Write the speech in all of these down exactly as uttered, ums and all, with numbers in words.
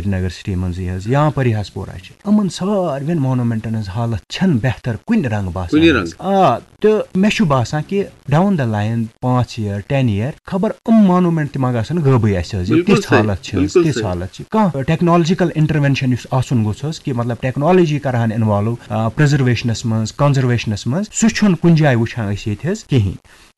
Nagar city منٛزٕے حظ، یا پریاس پورہ چھِ، یِمن ساروین مونومنٹن ہٕنٛز حالت چھنہٕ بہتر کُنہِ رنٛگہٕ باسان کُنہِ حظ۔ رنٛگہٕ۔ آ، تہٕ مےٚ چھُ باسان کہِ down the line پانٛژھ year, ten year, خبر یِم مونومنٹ تہِ ما گژھن غٲبٕے اَسہِ حظ، یہِ بِلکُل تِژھ صحیح، حالت چھِ حظ، بِلکُل تِژھ صحیح۔ حالت چھِ۔ کانٛہہ ٹیکنالوجیکل انٹروینشن یُس آسُن گوٚژھ حظ، کہِ مطلب ٹیکنالوجی کرہن involve، آ، پرزرویشنس منٛز، کنزرویشنس منٛز، سُہ چھُنہٕ کُنہِ جایہِ وٕچھان أسۍ ییٚتہِ حظ کِہینۍ۔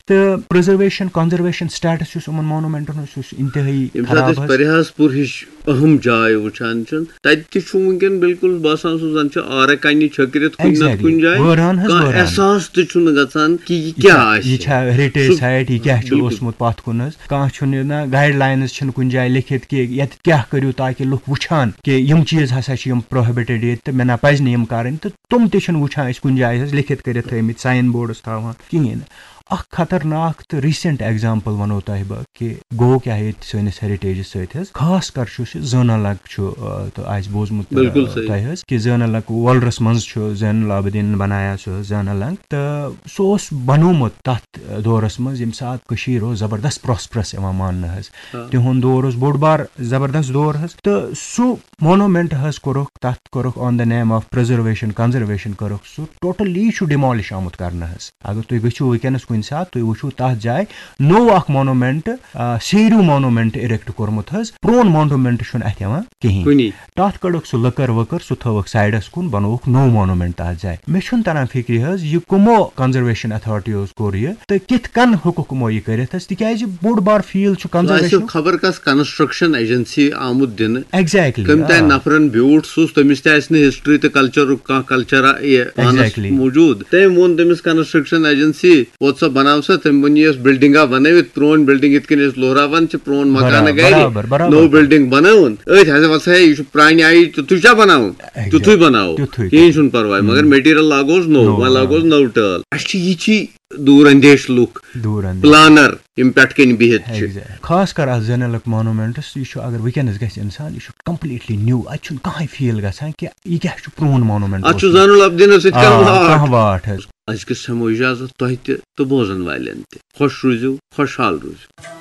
تہٕ پرزرویشن، کنزرویشن سٹیٹس یُس یِمن مونومنٹن اوس، سُہ اوس انتہٲیی ییٚمہِ ساتہٕ خراب أسۍ حظ۔ پریاس پور ہِش اہم جاے وٕچھان چھِ، تَتہِ تہِ چھُ وٕنکیٚن بِلکُل باسان، سُہ زَن چھُ آرٕ کَنہِ چھٔکرِتھ کُنہِ نَتہٕ exactly۔ کُنہِ جایہِ۔ وٲران حظ کانٛہہ وٲران۔ احساس تہِ چھُنہٕ گژھان کہِ یہِ یہِ کیٛاہ چھا، آسہِ۔ یہِ چھا ہیریٹیج سُہ سایٹ، یہِ کیٛاہ چھُ بِلکُل۔ اوسمُت پَتھ کُن حظ؟ کانٛہہ چھُنہٕ نہ گایڈ لاینٕز چھِنہٕ کُنہِ جایہِ لیکھِتھ کہِ ییٚتہِ کیٛاہ کٔرِو تاکہِ لُکھ وٕچھان کہِ یِم چیٖز ہسا چھِ یِم پروہبٹڈ ییٚتہِ تہٕ مےٚ نہ پَزِ نہٕ یِم کَرٕنۍ، تہٕ تِم تہِ چھِنہٕ وٕچھان أسۍ کُنہِ جایہِ حظ لیکھِتھ کٔرِتھ تھٲومٕتۍ، ساین بورڈس تھاوان کِہیٖنۍ نہٕ۔ اکھ خطرناک تہٕ ریٖسنٹ ایگزامپل وَنو تۄہہِ بہٕ کہِ گوٚو کیٛاہ ییٚتہِ سٲنِس ہیریٹیجَس سۭتۍ حظ۔ خاص کر چھُ سُہ زٲنہٕ لنٛگ چھُ، آ، تہٕ آسہِ بوٗزمُت، آ، بِلکُل صحیح۔ تۄہہِ حظ کہِ زٲنہٕ لنٛگ وۄلرَس منٛز چھُ زین العابدیٖنَن بنایا سُہ زٲنہٕ لنٛگ، تہٕ سُہ اوس بنوومُت تَتھ دورَس منٛز ییٚمہِ ساتہٕ کٔشیٖر اوس زبردست پراسپرس یِوان ماننہٕ حظ۔ آ۔ تِہُنٛد دور اوس بوٚڑ بار زبردست دور حظ، تہٕ سُہ مونومنٹ حظ کوٚرُکھ، تَتھ کوٚرُکھ on the name of preservation, conservation کوٚرُکھ سُہ ٹوٹلی چھُ ڈیمولش آمُت کرنہٕ حظ۔ اگر تُہۍ گٔژھِو وٕنکیٚنَس کُنہِ ساتہٕ، تُہۍ وٕچھِو تَتھ جایہِ نوٚو اکھ مونومنٹ، آ، سیریو مونومنٹ اِریکٹ کوٚرمُت حظ۔ پرون مونومنٹ چھُنہٕ اَتھِ یِوان کِہیٖنۍ۔ کُنی۔ تَتھ کٔڑٕکھ سُہ لٔکٕر ؤکٕر، سُہ تھٲوٕکھ سایڈَس کُن، بَنووُکھ نوٚو مونومنٹ تَتھ جایہِ۔ مےٚ چھُنہٕ تَران فِکرِ حظ، یہِ کٕمو کنزرویشن اتھارٹیو کوٚر یہِ تہٕ کِتھ کٔنۍ ہیوٚکُکھ یِمو یہِ کٔرِتھ حظ؟ تِکیازِ بوٚڑ بار فیٖلڈ چھُ سُہ آسہِ کنزرویشن۔ خبر کس کنسٹرکشن ایجنسی آمُت دِنہٕ۔ ایگزیکٹلی، کٔمۍ تام نفرن بیوٗٹھ سُہ اوس، تٔمِس تہِ آسہِ نہٕ ہسٹری تہٕ کلچرُک کانٛہہ کلچرا یہِ پانس ایگزیکٹلی۔ موٗجوٗد۔ تٔمۍ ووٚن تٔمِس کنسٹرکشن ایجنسی، ووت سا بناو سا؟ تٔمۍ ووٚن، یہِ ٲس بلڈنگا بنٲوِتھ، پرٲنۍ بلڈنگ یِتھ کٔنۍ أسۍ لوہراوان چھِ پرون مکانہٕ برابر، گرِ، برابر، برابر۔ نٔو بلڈنگ بنٲوٕن، أتھۍ ہسا وَس ہے، یہِ چھُ پرانہِ آیہِ تیُتھُے چھا بناوُن؟ ایگزیکٹ۔ تیُتھُے بناوو۔ تیُتھُے۔ کِہیٖنۍ چھُنہٕ پرواے، مگر مٹیریل لاگوس نوٚو، نوٚو، وۄنۍ آ۔ لاگوس نٔو ٹٲل۔ اَسہِ چھِ یِتھی دوٗر اندیش لُکھ، دوٗر اندیش۔ پلانر، یِم پٮ۪ٹھ کَنۍ بِہِتھ چھِ۔ ایگزیکٹ۔ خاص کر اَتھ زینلک مونومنٹس، یہِ چھُ اگر وٕنکیٚنس گژھِ انسان، یہِ چھُ کمپلیٹلی نیو، اَتہِ چھُنہٕ کانٛہہ فیٖل گژھان کہِ یہِ کیٛاہ چھُ پرون مونومنٹ اَتھ چھُ اوسمُت۔ زینُل عابدیٖنس سۭتۍ آ، کانٛہہ واٹھ۔ کانٛہہ واٹھ حظ۔ أزکِس ہٮ۪مو اجازت تۄہہِ تہِ تہٕ بوزن والٮ۪ن تہِ۔ خۄش روٗزِو، خۄشحال روٗزِو۔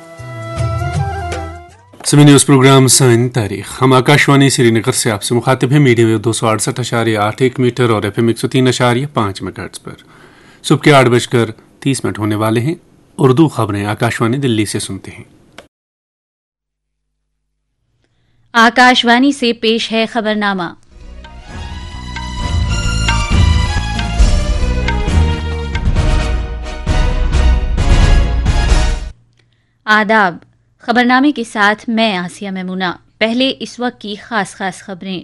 سمے نیوز پروگرام سٲنۍ تاریخ۔ ہم آکاشوانی سری نگر سے آپ سے مخاطب ہیں، میڈیم ویو دو سو اڑسٹھ اشاریہ آٹھ ایک میٹر اور ایف ایم ایک سو تین اشاریہ پانچ میگاہرٹز پر۔ صبح کے آٹھ بج کر تیس منٹ ہونے والے ہیں۔ اردو خبریں آکاشوانی دلی سے سنتے ہیں۔ آکاشوانی سے پیش ہے خبرنامہ۔ آداب۔ خبرنامے کے ساتھ میں آسیہ میمونہ۔ پہلے اس وقت کی خاص خاص خبریں۔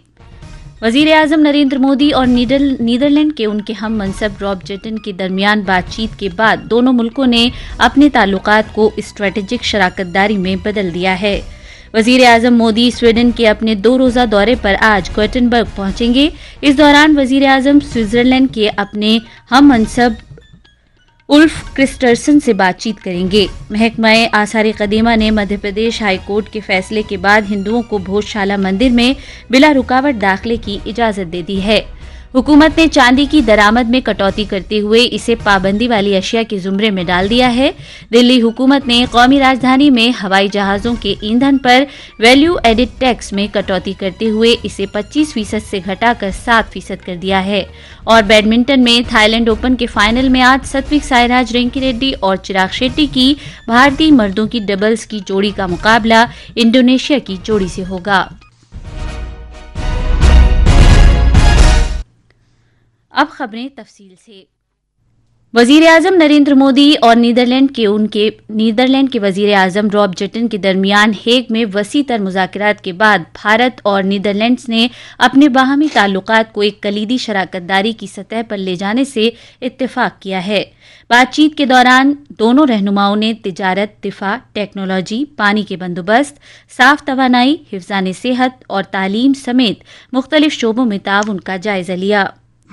وزیر اعظم نریندر مودی اور نیدر-، نیدرلینڈ کے ان کے ہم منصب راب جیٹن کے درمیان بات چیت کے بعد دونوں ملکوں نے اپنے تعلقات کو اسٹریٹجک شراکت داری میں بدل دیا ہے۔ وزیر اعظم مودی سویڈن کے اپنے دو روزہ دورے پر آج گوٹنبرگ پہنچیں گے۔ اس دوران وزیر اعظم سوئٹزرلینڈ کے اپنے ہم منصب الف کرسٹرسن سے بات چیت کریں گے۔ محکمہ آثار قدیمہ نے مدھیہ پردیش ہائی کورٹ کے فیصلے کے بعد ہندوؤں کو بھوج شالا مندر میں بلا رکاوٹ داخلے کی اجازت دے دی ہے۔ حکومت نے چاندی کی درآمد میں کٹوتی کرتے ہوئے اسے پابندی والی اشیاء کے زمرے میں ڈال دیا ہے۔ دلی حکومت نے قومی راجدھانی میں ہوائی جہازوں کے ایندھن پر ویلیو ایڈڈ ٹیکس میں کٹوتی کرتے ہوئے اسے پچیس فیصد سے گھٹا کر سات فیصد کر دیا ہے۔ اور بیڈمنٹن میں تھائی لینڈ اوپن کے فائنل میں آج ستوک سائراج رینکی ریڈی اور چراغ شیٹی کی بھارتی مردوں کی ڈبلز کی جوڑی کا مقابلہ انڈونیشیا کی جوڑی سے ہوگا۔ اب خبریں تفصیل سے۔ وزیر اعظم نریندر مودی اور نیدرلینڈ کے ان کے، نیدرلینڈ کے وزیر اعظم راب جیٹن کے درمیان ہیگ میں وسیع تر مذاکرات کے بعد بھارت اور نیدرلینڈز نے اپنے باہمی تعلقات کو ایک کلیدی شراکت داری کی سطح پر لے جانے سے اتفاق کیا ہے۔ بات چیت کے دوران دونوں رہنماؤں نے تجارت، دفاع، ٹیکنالوجی، پانی کے بندوبست، صاف توانائی، حفظان صحت اور تعلیم سمیت مختلف شعبوں میں تعاون کا جائزہ لیا۔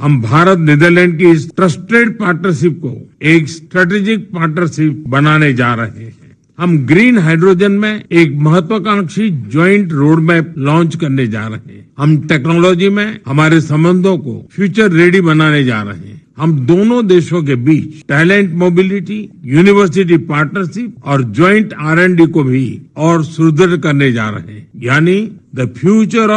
ہم بھارت نیدرلینڈ کی اس ٹرسٹڈ پارٹنرشپ کو ایک اسٹریٹجک پارٹنرشپ بنانے جا رہے ہیں۔ ہم گرین ہائیڈروجن میں ایک مہتواکانکشی جوائنٹ روڈ میپ لانچ کرنے جا رہے ہیں۔ ہم ٹیکنالوجی میں ہمارے سمبندوں کو فیوچر ریڈی بنانے جا رہے ہیں۔ ہم دونوں دیشوں کے بیچ ٹیلنٹ موبلٹی، یونیورسٹی پارٹنرشپ اور جوائنٹ آر اینڈ ڈی کو بھی اور سدرڑھ کرنے جا رہے ہیں، یعنی the future